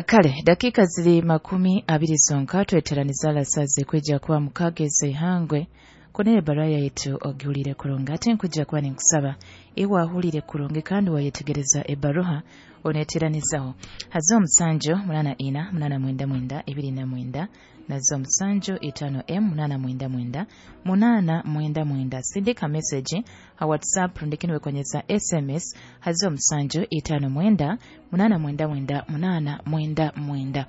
Kale dakika ziri 20 zonka tweteraniza alasaze kwijja kuba mukageze ihangwe kunere baraya yaitu ogihulire kurungi ate nkujja kuba ninkusaba iwe ahulire kurungi kandi wayetegereza ebaruha oneteranizaho hazo 7 8 4 9 29 nazo 7 5 m 8 99 899. Sindika message ha WhatsApp rundikini konyeza SMS hazo 7 5 9 8 99 899.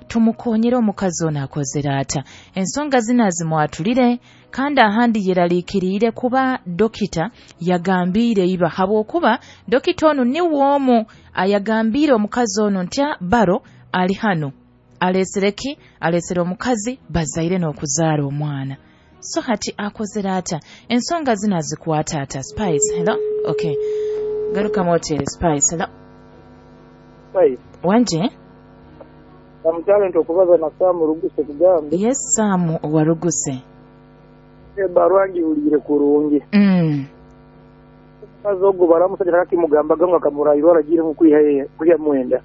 Tumukonyere omukazi ono akozera ata ensonga zino azimwatulire kandi ahandi yeraliikiriire kuba dokita yagambiire iba habwokuba dokita onu niwe omu ayagambiire omukazi onu nti baro ali hano alesere ki alesere omukazi bazaire n'okuzaara omwana. So hati akozera ata ensonga zino azikwata ata? Spice, hello. Okay, garuka motere. Spice, hello. Spice wanje Namutalent okubaza na Samu Ruguse kugambe. Yes, Samu wa Ruguse. Ebarwa ngiwulire kurungi. Mukazi ogwo baramusajja akakimugambaga ngo akamurayirwa aragire mu kwiha mwenda.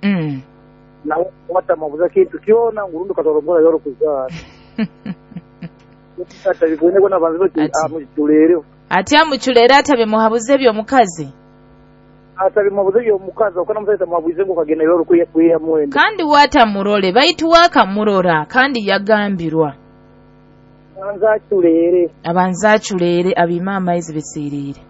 Nawe watamubuza kintu kyona ngurundi katorongora yoro kuzaara. Atabigone ko nabanze bati amuculere. Ati amuculere atabimuhabuze ebyo mukazi. Atabimuhabuze ebyo mukazi okana musajja tamuhabuze ngo kagenda yoro kwiha mwenda. Kandi watamurole baitu wakamurora kandi yagambirwa. Abanza aculere. Abanza aculere abima amaizi bisirire.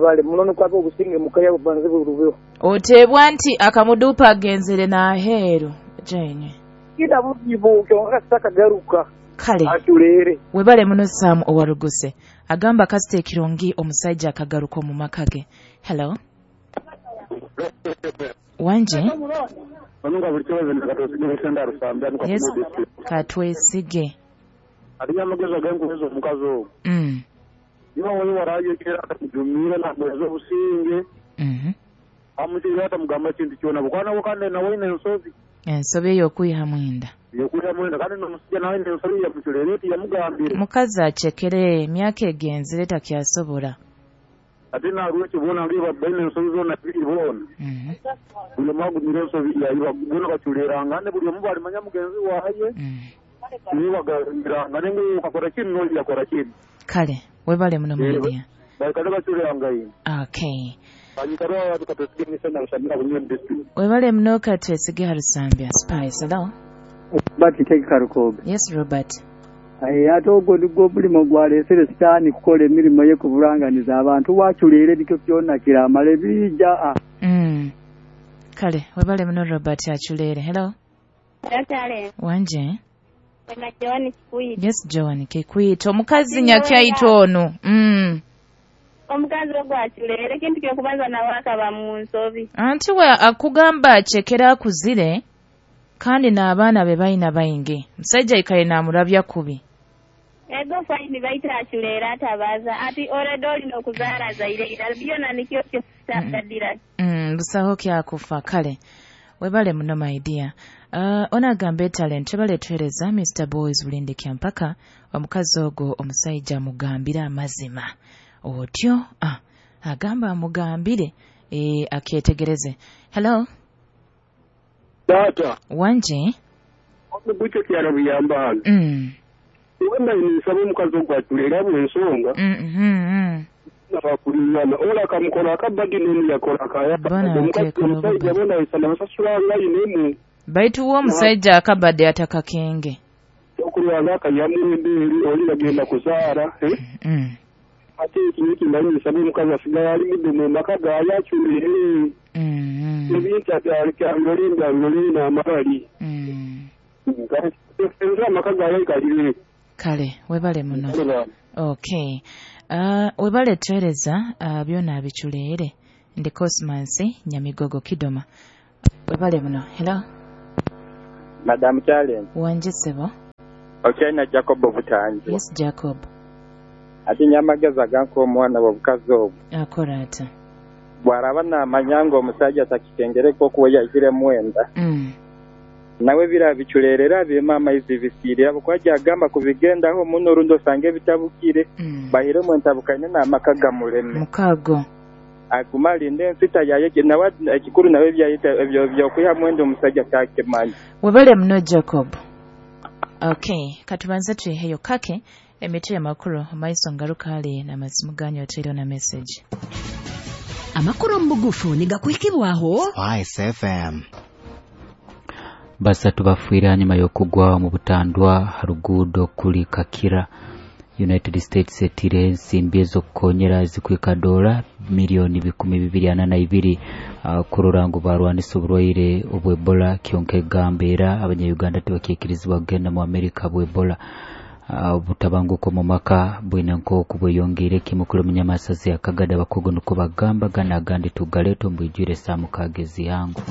Bale munono kwabo obusinge mukaya bubanze burubeho. Otebwa nti akamudupa agenzere n'aheeru jenye. Kida buzibu kyonka kasitaka garuka. Kale. Aculere. Webale muno Sam owaruguse. Agamba kasite ekirungi omusajja akagaruka omu maka ge. Hello. Wanje? Yes. Katwesige. Aliya amagezi agankuweza omukazi ogwo. Niba wowe warayekera akamujumira namweza obusinge. Amukirira atamugamba ekintu kyona bukwana kandi nawe ine ensobi. Ensobi ey'okwiha mwenda. Ey'okwiha mwenda kandi n'omusajja nawe ine ensobi yamuculere tiyamugambire. Mukazi acekere emyaka egenzire takyasobola. Ate narwekyo boona ngiba baine ensobi zoona biri boona. Buli omu agumire ensobi yayiba boona baculeranga ne buli omu balimanya mugenzi waaye. Nibaganiranga nengu ukakora kinu n'oli yakora kinu. Kale webale muno media. Baikale baculeranga ino. Okay. Webale muno Katwesige Harusambya. Spice, hello. Robert Karukobe. Yes, Robert. Ate ogwo nigwo omulimo gwalesere sitaani kukola emirimu ye kuburanganiza abantu waculere nikyo kyonna kiramala bija. Kale webale muno Robert aculere. Hello. Wanje. Joan Kikwito. Yes, Joan Kikwito. Omukazi nyakyaito ono. Omukazi ogwo aculere kintu kyokubanza nawe akaba mu nsobi. Anti we akugamba acekera akuzire kandi n'abaana be balina baingi. Musajja ikaye namurabya kubi. Ego faini baita aculere atabaza ati oredo olina okuzaara zaire irala byona nikyo kyotadira. Busaho kyakufa kale. Webale muno my dear. Onagamba talent baleetwereza Mr Boys Bulinde Kyampaka omukazi ogwo omusajja amugambire amazima. Otyo agamba amugambire akyetegereze. Hello. Tata. Wanje. Omuguche kyalo biyamba hano. Wenda nisaba omukazi ogwo aculere bw'ensonga. Nabakulirana ola akamukola akabadi nenu yakola akaya. Omusajja bona isana basasulanga inemu. Baitu uwo omusajja akabadde atakakenge. Okulwanga akayamu embeeri oli bagenda kuzaara. Ate ekintu ndanyisa omukazi asigala ali mudde mu maka gaayo aculere. Ebintu abyalirole n'amabali. Nze amaka gaayo galire. Kale webale muno. Okay. Webale twereza byona abiculeere. Ndi Cosmas Nyamigogo Kidoma. Webale muno. Hello. Madam Challenge. Wanje sebo. Okyalina Jacob Butanji. Yes, Jacob. Ati nyamagezi aganka omwana w'obukazi obwo. Akora ata. Bw'araba naamanya nga omusajja takikengereko okuba yahire mwenda. Nawe birabiculerera birimo amaizi bisiirira bukwajja agamba kubigendaho muno orundi osanga ebitabukire. Bahiremu entabukaine n'amaka gamuleme. Mukago. Aguma alinde ensita yaye nawe ekikuru nawe ebyayita ebyo byokwiha mwenda omusajja takimanyi. Webale muno Jacob. Okay, katubanze tuiheyo kake emiti y'amakuru omaiso ngaruka ali n'amasimu ganyu oteire na message. Amakuru omu bugufu nigakuhikibwaho Spice FM. Basatu bafiire hanyuma y'okugwa mu butandwa ha ruguudo kuli Kakira. United States etire ensimbi ez'okukonyera zikwika dola miliyoni 242 kurora ngu barwanisa oburwaire obw'Ebola. Kyonka egamba era abanya-Uganda tibakyekirizibwa kugenda mu Amerika bw'Ebola. Obutabanguko mu maka bwine nk'oku bweyongeire kimu kuli omunyamasazi akagada abakugu nukwo bagamba gana agandi tugaleeta omu bwijwire saa mukaaga ez'ihangu.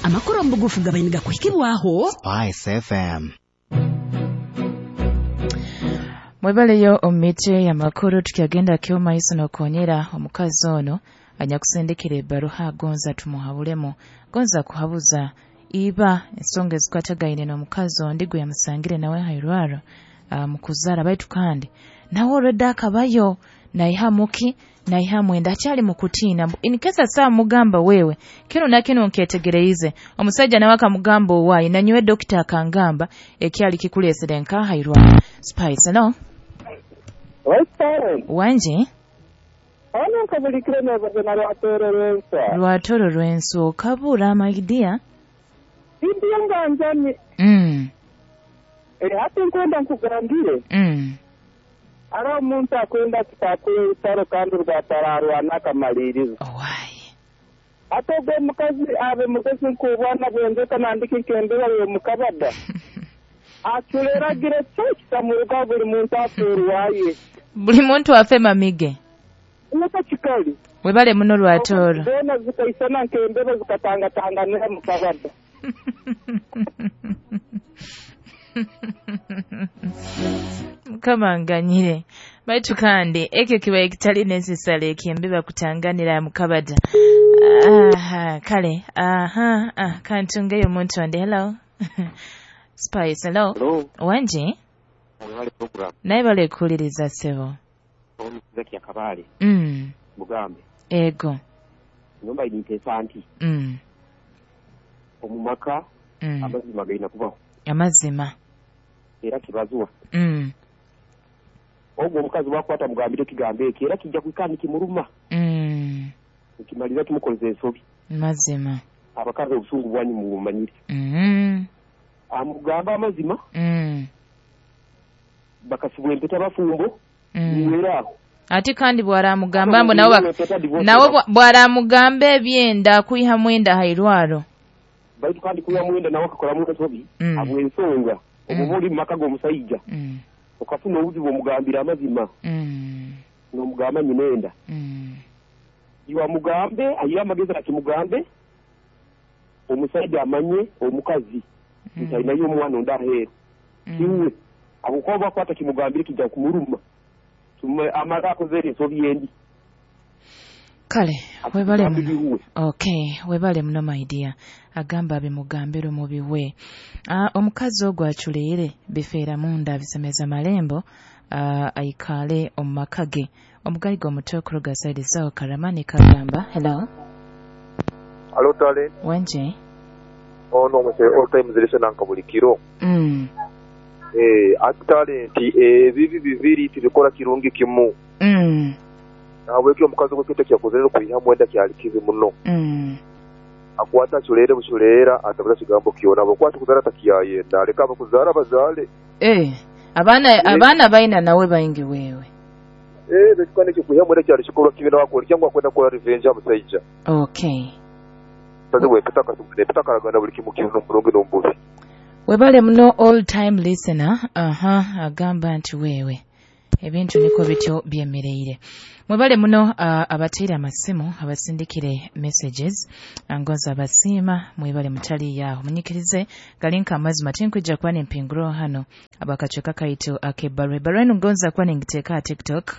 Amakuru omu bugufu gabaire nigakuhikibwaho Spice FM. Mwebaleyo omu miti y'amakuru tukyagenda kyomaiso n'okonyera omukazi ono anyakusindikira ebbaruha agonza tumuhabulemu, gonza kuhabuza iba ensonga ezikwatagaine n'omukazi ondi gwe yamusangire nawe hairwaro mu kuzaara, baitu kandi nawe olwedde akabayo naiha muki naiha mwenda akyali mu kutiina. Inkesa saa mugamba wewe kino na kino nkyetegereize omusajja nawe akamugamba owaayi nanyowe dokita akangamba ekyali kikuleesere nkahairwaro. Spice, hello. Wangi? Ono nkabulikire n'obuzima lwatoro lwensa. Lwatoro lwensa okabura my dear. Ndiyo nganjani. Hati nkwenda nkugambire. Ari omuntu akwenda kitakuye rutaro kandi rwatararwana akamaliriza. Owaayi. Ate ogwo omukazi abe mugezi nk'obwana bwenzeka nandika enkendera y'omukabada. Aculeragira kyo kitamuruga buli muntu aferwaye. Buli muntu afe mamige. Nuko kikali. Webale muno lwatoro. Zona zikaisana nkembeba zikatangatanganira mu kabada. Mukama nganyire. Baitu kandi ekyo kibaye kitali necessary ekembeba kutanganira mu kabada. Aha, kale. Aha, kantungeyo omuntu onde. Hello. Spice, hello. Hello. Wangi? Webale program. Naye bale kuwuliriza ssebo. Zaki Kabale. Bugambe. Ego. Nyumba initeesa nti. Omumaka amazima galina kubaho. Amazima. Era kibazuwa. Ogwo omukazi wakwata mugambire kigambo ekyo era kijja kwikana kimuruma. Ekimaliza kimukoleza ensobi. Mazima. Abakazi obusungu bwanyu mubumanyire. Amugamba amazima. Bakasibwa empeta bafumbo. Niweraho. Ate kandi bwaramugamba mbu nawe bwaramugamba ebyenda kwiha mwenda hairwaro. Baitu kandi kuya mwenda nawe akakora mu ensobi abwe ensonga obuba oli mu maka g'omusajja. Okafuna obuzibu omugambira amazima. N'omugamba nyinenda. Iwe mugambe ayiye amagezi akimugambe omusajja amanye omukazi nti alinayo omwana ondi aheeru. Iwe abukuba bakwata kimugambire kijja kumuruma. Amala akoze ensobi endi. Kale, webale muno. Okay, webale muno my dear. Agamba bimugambire mubiwe. Omukazi ogwo aculeere bifeera munda bisemeza malembo aikale omu maka ge. Omugayiga omuto okuruga saidi sawo Karamani kagamba. Hello. Hello darling. Wenje? Ono muse all time zilisena nkabulikiro. Ate nti ebibi bibiri tibikola kirungi kimu. Nahabwekyo omukazi gwekita kyakoze kwiha mwenda kyali kibi muno. Akwata aculeere buculeera atabuza kigambo kyona bwokwata kuzaala takiyayenda aleka abakuzaala bazaale. Abaana baina nawe baingi wewe. Betukane kyo kwiha mwenda kyali kikolwa kibi nawe cyangwa akwenda kukola revenge amusajja. Okay. Mukazi gwekita katakaragana buli kimu kibi n'omulungi n'omububi. Webale muno all time listener. Aha, agamba nti wewe ebintu niko bityo byemereire. Mwebale muno abateera amasimu abasindikire messages angoza abasiima mwebale mutali yaho munyikirize galinka amazima tinkwijja kuba nempinguro hano abakacweka kaitu ak'ebbaluwa ebbaluwa eno ngonza kuba nengiteeka ha TikTok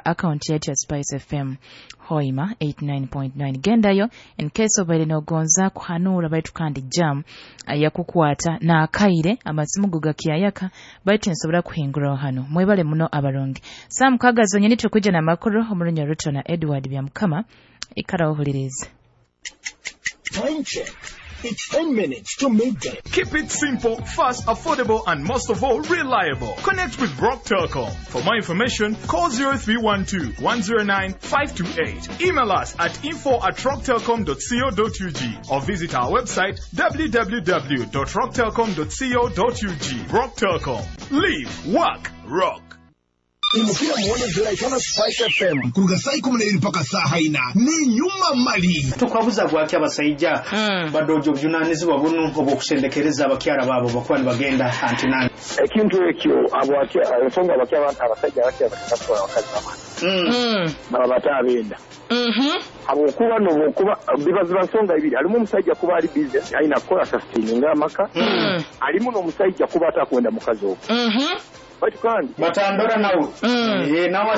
Account yetu ya Spice FM Hoima 89.9. Gendayo in case obaire nogonza kuhanura baitu kandi jam yakukwata na akaire amasimu gakyayaka baitu nsobora kuhingura hano. Mwebale muno abarongi. Sam Kagazo nyeni tukuja na makuru omurunya Ruto na Edward Byamukama ikara ohulirize. Time check. It's 10 minutes to midday. Keep it simple, fast, affordable, and most of all, reliable. Connect with Rock Telcom. For more information, call 0312 109 528. Email us at info@rocktelcom.co.ug or visit our website www.rocktelcom.co.ug. Rock Telcom. Live, work, rock. Imukira muone ziraikana Spice FM kuruga saa 12 mpaka saa 4 ni nyuma mali tukwabuza gwaki abasajja badojo obujunanizibwa buno obwokusendekereza abakyala baabo bakuba nibagenda antinani ekintu ekyo ensonga abasajja abakyala batakasobola abakazi bamala baba batabenda habwokuba nobwokuba bibaziba nsonga ibiri alimu omusajja kuba ali business alina kukola sustaininga amaka alimu n'omusajja kuba atakwenda mukazi ogwo. Kandi batandora nawe nawe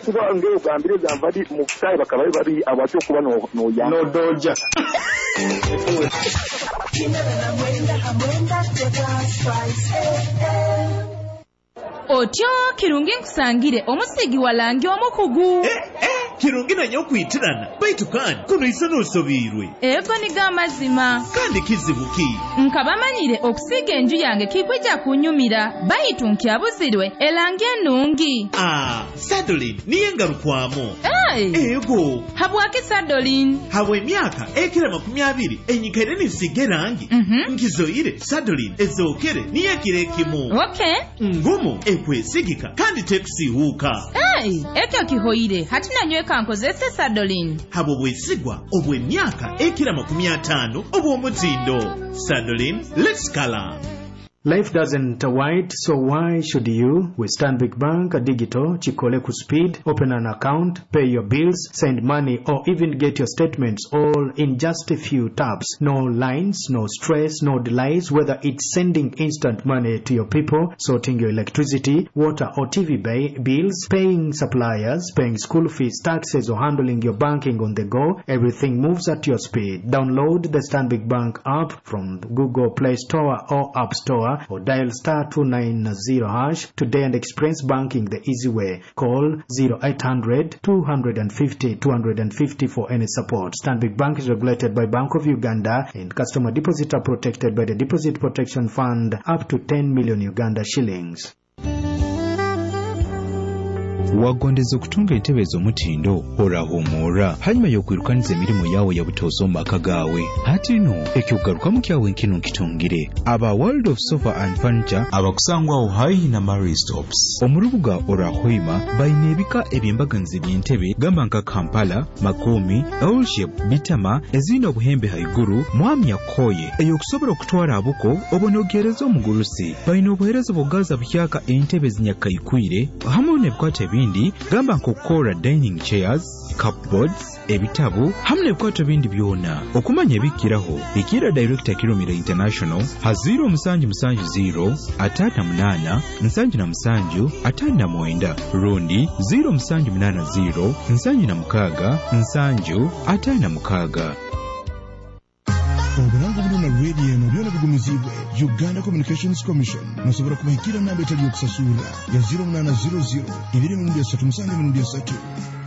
kuba ngeo gambire gambadi mu sai bakaba bari abacho kuba no ya no doja. Otyo kirungi nkusangire omusigi walangi omukugu. Kirungi nanyo okwitirana baitu kandi kuno isa n'osobirwe. Ego niga amazima. Kandi kizibu ki? Nkabamanyire okusiga enju yange kikwija kunyumira baitu nkyabuzirwe elangi ennungi. Sadolin niye ngarukwamo. Hey. Ego. Habwaki Sadolin? Habwe emyaka ekira 20 enyikaire nisiga erangi. Nkizoire Sadolin ezokere niye ekiro ekimu. Okay. Ngumu ekwesigika kandi tekusiihuuka. Hey, ekyo kihoire hati nanyweka nkozese Sadolin. Habwo bwesigwa obw'emyaka ekira 50 obw'omutindo. Sadolin, let's color. Life doesn't wait, so why should you? With Stanbic Bank Digital, Chikole Speed, open an account, pay your bills, send money, or even get your statements all in just a few taps. No lines, no stress, no delays, whether it's sending instant money to your people, sorting your electricity, water or TV bills, paying suppliers, paying school fees, taxes, or handling your banking on the go, everything moves at your speed. Download the Stanbic Bank app from Google Play Store or App Store, or dial *290# today and experience banking the easy way. Call 0800 250 250 for any support. Stanbic Bank is regulated by Bank of Uganda and customer deposits are protected by the Deposit Protection Fund up to 10 million Uganda shillings. Wagondeza okutunga entebe ez'omutindo orahumura hanyuma y'okwirukaniza emirimu yawe ya butozo mu maka gawe. Hati no ekyokugarukamu kyawe nkino nkitungire aba World of Sofa and Furniture abakusangwaho haihi na Mary Stops omu rubuga Orahoima baine ebika eby'embaganiza eby'entebe gamba nka Kampala, Makomi, L-shape, Bitama ezirina obuhembe haiguru mwamya koye eyokusobola okutwara abuko obonogereza omugurusi. Baine obuhereza bw'okugaza buhyaka entebe zinyakaikwire hamwe n'ebikwata ebindi gamba nk'okukora dining chairs, cupboards, ebitabu hamwe n'ebikwato bindi byona. Okumanya ebikiraho ikira Director Kirumira International ha 0770 58 77 59 rundi 0780 76 7 56. Oburango buno na radio eno byona bigumizibwe Uganda Communications Commission. Nosobola kubahikira namba etali yokusasura ya 0800 2 3 7 3.